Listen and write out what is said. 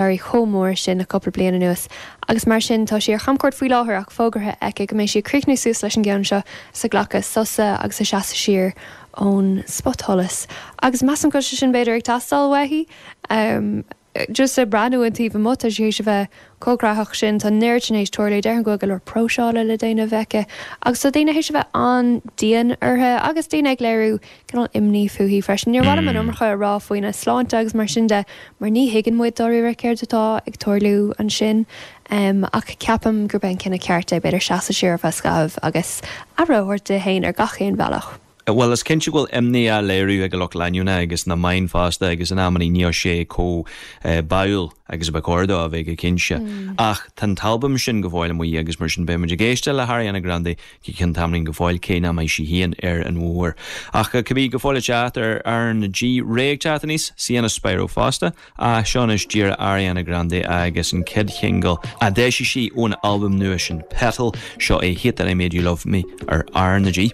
Éirí chomh mór sin le cúpla bliain anuas agus mar sin tá sí ar chamchuairt faoi láthair ach fógartha aici go mbeidh sí ag críochnú suas leis an gceann seo is ag glacadh sosa agus ag seasamh siar ón spotsholas agus measaim go bhfuil sé sin b'fhéidir ag teastáil uaithi. Just ag breathnú ón taobh amuigh tá sí théis a bheith chomh graitheach sin, tá an oiread sin théis tarlú, déarfainn go bhfuil go leor próiseála le déanamh aici agus tá daoine théis a bheith an-dian uirthi agus daoine ag léiriú cineál imní fúithi freisin. Níor mhaith liom an iomarca a rá faoina sláinte agus mar sin de mar ní thuigeann muid dáiríre céard atá ag tarlú ansin ach ceapaim gurb é an cinneadh ceart é b'fhéidir seasamh siar ar feadh scaithimh agus aire a thabhairt di féin ar gach aon bhealach. Bhuel, is cinnte go bhfuil imní á léiriú ag a lucht leanúna agus na meáin fosta agus in amannaí níl sé chomh báúil agus a ba chóir dó a bheith go cinnte. Ach tá an t-albam sin go fóill amuigh agus mar sin beidh muid ag éisteacht le hAriana Grande go ceann tamaillín go fóill cé nach mbeidh sí féin ar an bhóthar. Ach cibé, go fóill ag teacht ar R na G, Raye ag teacht aníos, Sienna Spiro fosta, ach seo anois díreach Ariana Grande agus an chéad shingil a d'eisigh sí ón albam nua sin Petal, seo é Hate That I Made You Love Me ar R na G.